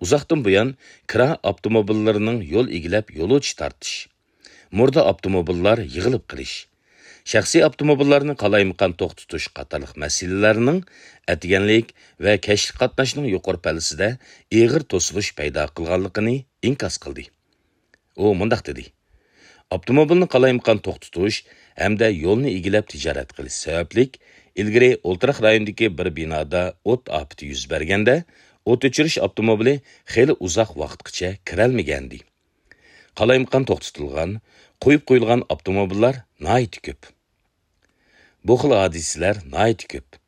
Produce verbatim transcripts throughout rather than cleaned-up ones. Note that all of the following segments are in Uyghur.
ئۇزاقتىن بۇيان كىرا ئاپتوموبىللىرىنىڭ يول ئىگىلەپ يولۇچى تارتىش، مۇردە ئاپتوموبىللار يىغىلىپ قېلىش، شەخسىي ئاپتوموبىللارنى قالايمىقان توختىتىش قاتارلىق مەسىلىلەرنىڭ ئەتىگەنلىك ۋە كەچلىك قاتناشنىڭ يۇقىرى پەللىسىدە ئېغىر توسۇلۇش پەيدا قىلغانلىقىنى ئىنكاس قىلدى. ئۇ مۇنداق دېدى: ئاپتوموبىلنى قالايمىقان توختىتىش ھەمدە يولنى ئىگىلەپ تىجارەت قىلىش سەۋەبلىك، ئىلگىرى ئولتۇراق رايونىدىكى بىر بىنادا ئوت ئاپىتى يۈز بەرگەندە، ئوت ئۆچۈرۈش ئاپتوموبىلى خېلى ئۇزاق ۋاقىتقىچە كىرەلمىگەنىدى. قالايمىقان توختىتىلغان، قويۇپ قويۇلغان ئاپتوموبىللار ناھايىتى كۆپ. بۇ خىل ھادىسىلەر ناھايىتى كۆپ.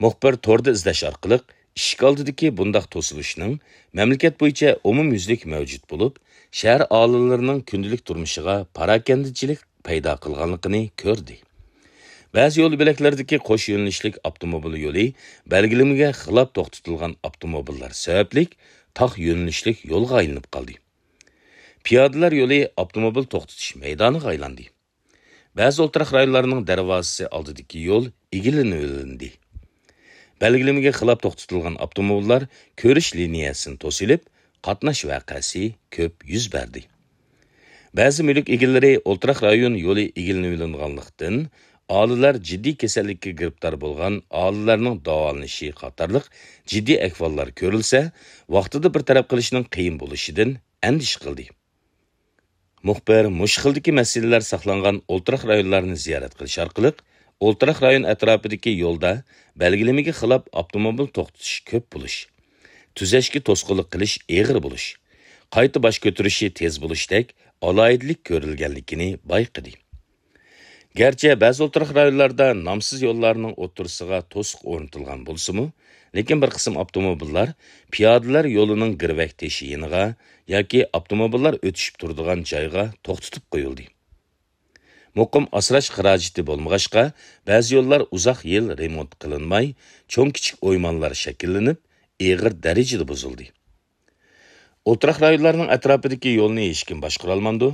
مۇخبىر توردا ئىزدەش ئارقىلىق ئىشىك ئالدىدىكى بۇنداق توسۇلۇشنىڭ مەملىكەت بويىچە ئومۇميۈزلۈك مەۋجۇت بولۇپ، شەھەر ئاھالىلىرىنىڭ كۈندىلىك تۇرمۇشىغا پاراكەندىچىلىك پەيدا قىلغانلىقىنى كۆردى. بەزى يول بۆلەكلىرىدىكى قوش يۆنىلىشلىك ئاپتوموبىل يولى بەلگىلىمىگە خىلاپ توختىتىلغان ئاپتوموبىللار سەۋەبلىك تاق يۆنىلىشلىك يولغا ئايلىنىپ قالدى. پىيادىلەر يولى ئاپتوموبىل توختىتىش مەيدانىغا ئايلاندى. بەزى ئولتۇراق رايونلارنىڭ دەرۋازىسى ئالدىدىكى يول ئىگىلىنىۋېلىندى. بەلگىلىمىگە خىلاپ توختىتىلغان ئاپتوموبىللار كۆرۈش لىنىيەسىنى توسۇۋېلىپ، قاتناش ۋەقەسى كۆپ يۈز بەردى. بەزى مۈلۈك ئىگىلىرى ئولتۇراق رايون يولى ئىگىلىنىۋېلىنغانلىقتىن، ئاھالىلەر جىددىي كېسەللىككە گىرىپتار بولغان ئاھالىلەرنىڭ داۋالىنىشى قاتارلىق جىددىي ئەھۋاللار كۆرۈلسە، ۋاقتىدا بىر تەرەپ قىلىشنىڭ قىيىن بولۇشىدىن ئەندىشە قىلدى. مۇخبىر مۇشۇ خىلدىكى مەسىلىلەر ساقلانغان ئولتۇراق رايونلارنى زىيارەت قىلىش ئارقىلىق، ئولتۇراق رايون ئەتراپىدىكى يولدا بەلگىلىمىگە خىلاپ ئاپتوموبىل توختىتىش كۆپ بولۇش، تۈزەشكە توسقۇنلۇق قىلىش ئېغىر بولۇش، قايتا باش كۆتۈرۈشى تېز بولۇشتەك ئالاھىدىلىك كۆرۈلگەنلىكىنى بايقىدى. گەرچە بەزى ئولتۇراق رايونلاردا نامسىز يوللارنىڭ ئوتتۇرىسىغا توسۇق ئورنىتىلغان بولسىمۇ، لېكىن بىر قىسىم ئاپتوموبىللار پىيادىلەر يولىنىڭ گىرۋەك تېشى يېنىغا ياكى ئاپتوموبىللار ئۆتۈشۈپ تۇرىدىغان جايغا توختىتىپ قويۇلدى. مۇقىم ئاسراش خىراجىتى بولمىغاچقا، بەزى يوللار ئۇزاق يىل رېمونت قىلىنماي، چوڭ-كىچىك ئويمانلار شەكىللىنىپ، ئېغىر دەرىجىدە بۇزۇلدى. ئولتۇراق رايونلارنىڭ ئەتراپىدىكى يولنى ھېچكىم باشقۇرالمامدۇ؟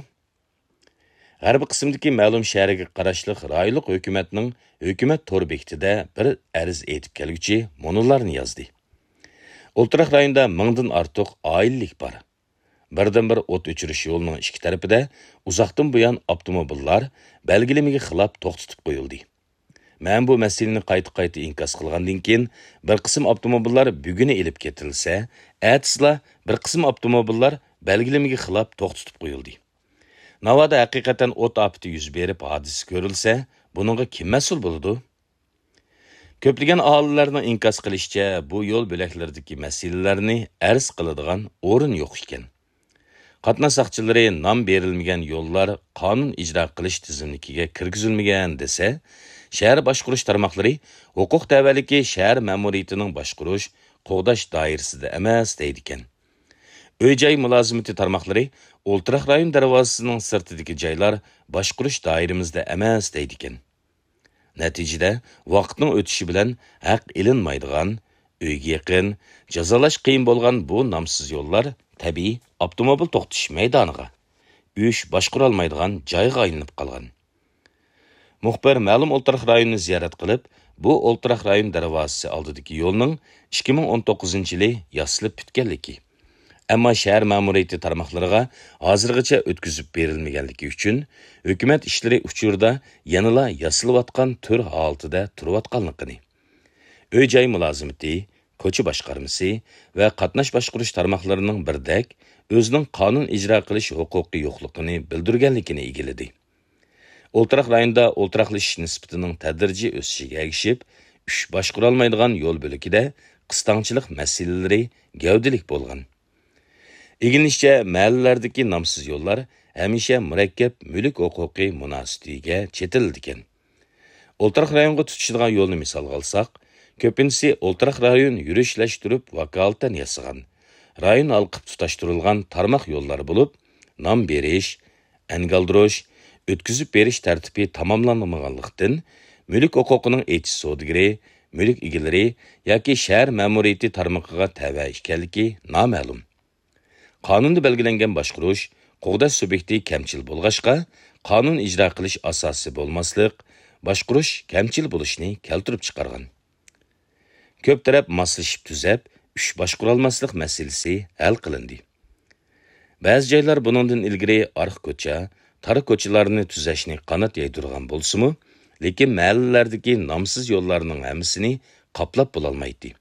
غەربىي قىسىمدىكى مەلۇم شەھەرگە قاراشلىق رايونلۇق ھۆكۈمەتنىڭ ھۆكۈمەت تور بېكىتىدە بىر ئەرز ئېيتىپ كەلگۈچى مۇنۇلارنى يازدى: ئولتۇراق رايوندا مىڭدىن ئارتۇق ئائىلىلىك بار. بىردىنبىر ئوت ئۆچۈرۈش يولىنىڭ ئىككى تەرىپىدە ئۇزاقتىن بۇيان ئاپتوموبىللار بەلگىلىمىگە خىلاپ توختىتىپ قويۇلدى. مەن بۇ مەسىلىنى قايتا-قايتا ئىنكاس قىلغاندىن كېيىن، بىر قىسىم ئاپتوموبىللار بۈگۈنى ئېلىپ كېتىلسە، ئەتىسىلا بىر قىسىم ئاپتوموبىللار بەلگىلىمىگە خىلاپ توختىتىپ قويۇلدى. ناۋادا ھەقىقەتەن ئوت ئاپىتى يۈز بېرىپ ھادىسە كۆرۈلسە، بۇنىڭغا كىم مەسئۇل بولىدۇ؟ كۆپلىگەن ئاھالىلەرنىڭ ئىنكاس قىلىشىچە، بۇ يول بۆلەكلىرىدىكى مەسىلىلەرنى ئەرز قىلىدىغان ئورۇن يوق ئىكەن. قاتناش ساقچىلىرى نام بېرىلمىگەن يوللار قانۇن ئىجرا قىلىش تىزىملىكىگە كىرگۈزۈلمىگەن دېسە، شەھەر باشقۇرۇش تارماقلىرى ھوقۇق تەۋەلىكى شەھەر مەمۇرىيىتىنىڭ باشقۇرۇش، قوغداش دائىرىسىدە ئەمەس دەيدىكەن. ئۆي-جاي مۇلازىمىتى تارماقلىرى ئولتۇراق رايون دەرۋازىسىنىڭ سىرتىدىكى جايلار باشقۇرۇش دائىرىمىزدە ئەمەس دەيدىكەن. نەتىجىدە، ۋاقىتنىڭ ئۆتۈشى بىلەن ھەق ئېلىنمايدىغان، ئۆيگە يېقىن، جازالاش قىيىن بولغان بۇ نامسىز يوللار تەبىئىي ئاپتوموبىل توختىتىش مەيدانىغا، ئۈچ باشقۇرالمايدىغان جايغا ئايلىنىپ قالغان. مۇخبىر مەلۇم ئولتۇراق رايونىنى زىيارەت قىلىپ، بۇ ئولتۇراق رايون دەرۋازىسى ئالدىدىكى يولنىڭ ئىككى مىڭ ئون توققۇزىنچى يىلى ياسىلىپ پۈتكەنلىكى، ئەمما شەھەر مەمۇرىيىتى تارماقلىرىغا ھازىرغىچە ئۆتكۈزۈپ بېرىلمىگەنلىكى ئۈچۈن، ھۆكۈمەت ئىشلىرى ئۇچۇرىدا يەنىلا ياسىلىۋاتقان تۈر ھالىتىدە تۇرۇۋاتقانلىقىنى، ئۆي-جاي مۇلازىمىتى، كوچا باشقارمىسى ۋە قاتناش باشقۇرۇش تارماقلىرىنىڭ بىردەك ئۆزىنىڭ قانۇن ئىجرا قىلىش ھوقۇقى يوقلۇقىنى بىلدۈرگەنلىكىنى ئىگىلىدى. ئولتۇراق رايوندا ئولتۇراقلىشىش نىسبىتىنىڭ تەدرىجىي ئۆسۈشىگە ئەگىشىپ، ئۈچ باشقۇرالمايدىغان يول بۆلىكىدە قىستاڭچىلىق مەسىلىلىرى گەۋدىلىك بولغان. ئىگىلىنىشىچە، مەھەللىلەردىكى نامسىز يوللار ھەمىشە مۇرەككەپ مۈلۈك ھوقۇقى مۇناسىۋىتىگە چېتىلىدىكەن. ئولتۇراق رايونغا تۇتىشىدىغان يولنى مىسالغا ئالساق، كۆپىنچىسى ئولتۇراق رايون يۈرۈشلەشتۈرۈپ ۋاكالىتەن ياسىغان، رايون ھالقىپ تۇتاشتۇرۇلغان تارماق يوللار بولۇپ، نام بېرىش، ئەنگە ئالدۇرۇش، ئۆتكۈزۈپ بېرىش تەرتىپى تاماملانمىغانلىقتىن، مۈلۈك ھوقۇقىنىڭ ئېچىش سودىگىرى، مۈلۈك ئىگىلىرى ياكى شەھەر مەمۇرىيىتى تارمىقىغا تەۋە ئىكەنلىكى نامەلۇم. قانۇندا بەلگىلەنگەن باشقۇرۇش، قوغداش سۇبيېكتى كەمچىل بولغاچقا، قانۇن ئىجرا قىلىش ئاساسى بولماسلىق، باشقۇرۇش كەمچىل بولۇشنى كەلتۈرۈپ چىقارغان. كۆپ تەرەپ ماسلىشىپ تۈزەپ، ئۈچ باشقۇرالماسلىق مەسىلىسى ھەل قىلىندى. بەزى جايلار بۇنىڭدىن ئىلگىرى ئارقا كوچا، تار كوچىلارنى تۈزەشنى قانات يايدۇرغان بولسىمۇ، لېكىن مەھەللىلەردىكى نامسىز يوللارنىڭ ھەممىسىنى قاپلاپ بولالمايتتى.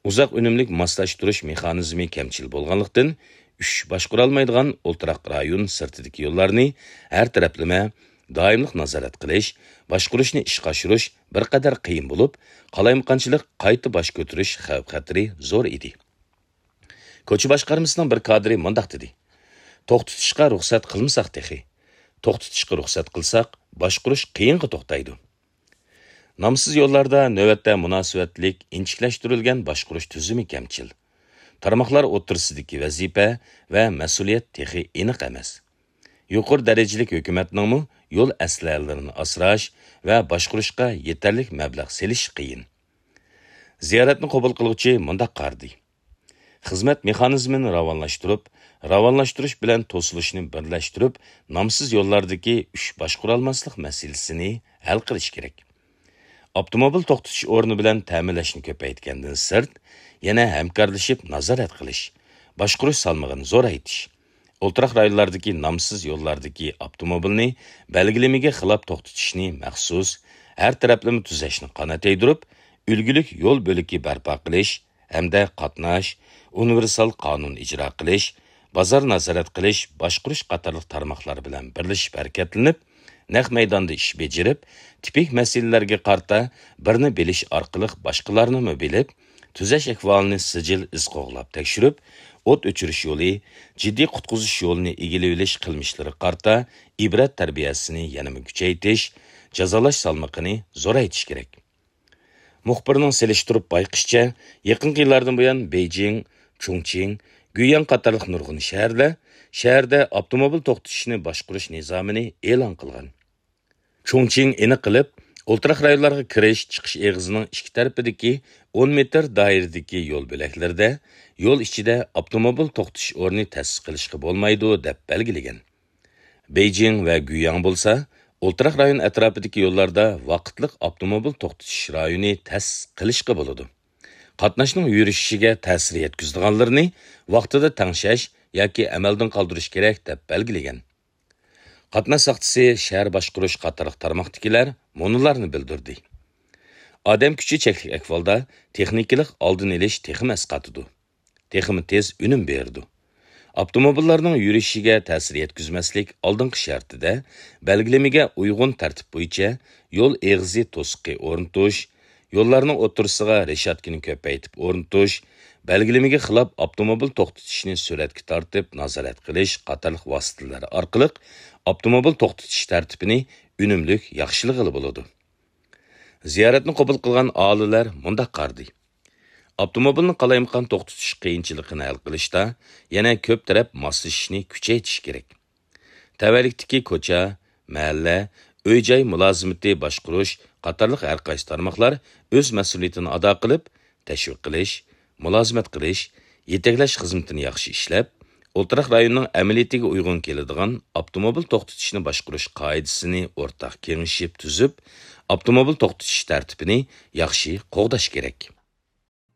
ئۇزاق ئۈنۈملۈك ماسلاشتۇرۇش مېخانىزمى كەمچىل بولغانلىقتىن، ئۈچ باشقۇرالمايدىغان ئولتۇراق رايون سىرتىدىكى يوللارنى ھەر تەرەپلىمە دائىملىق نازارەت قىلىش، باشقۇرۇشنى ئىشقا ئاشۇرۇش بىر قەدەر قىيىن بولۇپ، قالايمىقانچىلىق قايتا باش كۆتۈرۈش خەۋپ-خەتىرى زور ئىدى. كوچا باشقارمىسىنىڭ بىر كادىرى مۇنداق دېدى: «توختىتىشقا رۇخسەت قىلمىساق تېخى. توختىتىشقا رۇخسەت قىلساق، باشقۇرۇش قىيىنغا توختايدۇ.» نامسىز يوللاردا نۆۋەتتە مۇناسىۋەتلىك ئىنچىكىلەشتۈرۈلگەن باشقۇرۇش تۈزۈمى كەمچىل. تارماقلار ئوتتۇرىسىدىكى ۋەزىپە ۋە مەسئۇلىيەت تېخى ئېنىق ئەمەس. يۇقىرى دەرىجىلىك ھۆكۈمەتنىڭمۇ يول ئەسلىھەلىرىنى ئاسراش ۋە باشقۇرۇشقا يېتەرلىك مەبلەغ سېلىشى قىيىن. زىيارەتنى قوبۇل قىلغۇچى مۇنداق قارىدى: خىزمەت مېخانىزمىنى راۋانلاشتۇرۇپ، راۋانلاشتۇرۇش بىلەن توسۇلۇشنى بىرلەشتۈرۈپ، نامسىز يوللاردىكى ئۈچ باشقۇرالماسلىق مەسىلىسىنى ھەل قىلىش كېرەك. ئاپتوموبىل توختىتىش ئورنى بىلەن تەمىنلەشنى كۆپەيتكەندىن سىرت، يەنە ھەمكارلىشىپ نازارەت قىلىش، باشقۇرۇش سالمىقىنى زورايتىش، ئولتۇراق رايونلاردىكى نامسىز يوللاردىكى ئاپتوموبىلنى بەلگىلىمىگە خىلاپ توختىتىشنى مەخسۇس ھەر تەرەپلىمە تۈزەشنى قانات يايدۇرۇپ، ئۈلگىلىك يول بۆلىكى بەرپا قىلىش ھەمدە قاتناش، ئۇنىۋېرسال قانۇن ئىجرا قىلىش، بازار نازارەت قىلىش، باشقۇرۇش قاتارلىق تارماقلار بىلەن بىرلىشىپ ھەرىكەتلىنىپ، نەق مەيداندا ئىش بېجىرىپ، تىپىك مەسىلىلەرگە قارىتا بىرنى بىلىش ئارقىلىق باشقىلارنىمۇ بىلىپ، تۈزەش ئەھۋالىنى سىجىل ئىز قوغلاپ تەكشۈرۈپ، ئوت ئۆچۈرۈش يولى، جىددىي قۇتقۇزۇش يولىنى ئىگىلىۋېلىش قىلمىشلىرىغا قارىتا ئىبرەت تەربىيەسىنى يەنىمۇ كۈچەيتىش، جازالاش سالمىقىنى زورايتىش كېرەك. مۇخبىرنىڭ سېلىشتۇرۇپ بايقىشىچە، يېقىنقى يىللاردىن بۇيان بېيجىڭ، چۇڭچىڭ، گۇيياڭ قاتارلىق نۇرغۇن شەھەرلەر شەھەردە ئاپتوموبىل توختىتىشنى باشقۇرۇش نىزامىنى ئېلان قىلغان. چۇڭچىڭ ئېنىق قىلىپ، ئولتۇراق رايونلارغا كىرىش، چىقىش ئېغىزىنىڭ ئىككى تەرىپىدىكى ئون مېتىر دائىرىدىكى يول بۆلەكلىرىدە يول ئىچىدە ئاپتوموبىل توختىتىش ئورنى تەسىس قىلىشقا بولمايدۇ، دەپ بەلگىلىگەن. بېيجىڭ ۋە گۇيياڭ بولسا، ئولتۇراق رايون ئەتراپىدىكى يوللاردا ۋاقىتلىق ئاپتوموبىل توختىتىش رايونى تەسىس قىلىشقا بولىدۇ. قاتناشنىڭ يۈرۈشۈشىگە تەسىر يەتكۈزىدىغانلىرىنى ۋاقتىدا تەڭشەش ياكى ئەمەلدىن قالدۇرۇش كېرەك، دەپ بەلگىلىگەن. قاتناش ساقچىسى، شەھەر باشقۇرۇش قاتارلىق تارماقتىكىلەر مۇنۇلارنى بىلدۈردى: ئادەم كۈچى چەكلىك ئەھۋالدا تېخنىكىلىق ئالدىنى ئېلىش تېخىمۇ ئەسقاتىدۇ، تېخىمۇ تېز ئۈنۈم بېرىدۇ. ئاپتوموبىللارنىڭ يۈرۈشىگە تەسىر يەتكۈزمەسلىك ئالدىنقى شەرتىدە، بەلگىلىمىگە ئۇيغۇن تەرتىپ بويىچە يول ئېغىزى توسۇقى ئورنىتىش، يوللارنىڭ ئوتتۇرىسىغا رېشاتكىنى كۆپەيتىپ ئورنىتىش، بەلگىلىمىگە خىلاپ ئاپتوموبىل توختىتىشنى سۈرەتكە تارتىپ نازارەت قىلىش قاتارلىق ۋاسىتىلەر ئارقىلىق ئاپتوموبىل توختىتىش تەرتىپىنى ئۈنۈملۈك ياخشىلىغىلى بولىدۇ. زىيارەتنى قوبۇل قىلغان ئاھالىلەر مۇنداق قارىدى: ئاپتوموبىلنى قالايمىقان توختىتىش قىيىنچىلىقىنى ھەل قىلىشتا يەنە كۆپ تەرەپ ماسلىشىشنى كۈچەيتىش كېرەك. تەۋەلىكتىكى كوچا، مەھەللە، ئۆي-جاي مۇلازىمىتى باشقۇرۇش قاتارلىق ھەرقايسى تارماقلار ئۆز مەسئۇلىيىتىنى ئادا قىلىپ، تەشۋىق قىلىش، مۇلازىمەت قىلىش، يېتەكلەش خىزمىتىنى ياخشى ئىشلەپ، ئولتۇراق رايوننىڭ ئەمەلىيىتىگە ئۇيغۇن كېلىدىغان ئاپتوموبىل توختىتىشنى باشقۇرۇش قائىدىسىنى ئورتاق كېڭىشىپ تۈزۈپ، ئاپتوموبىل توختىتىش تەرتىپىنى ياخشى قوغداش كېرەك.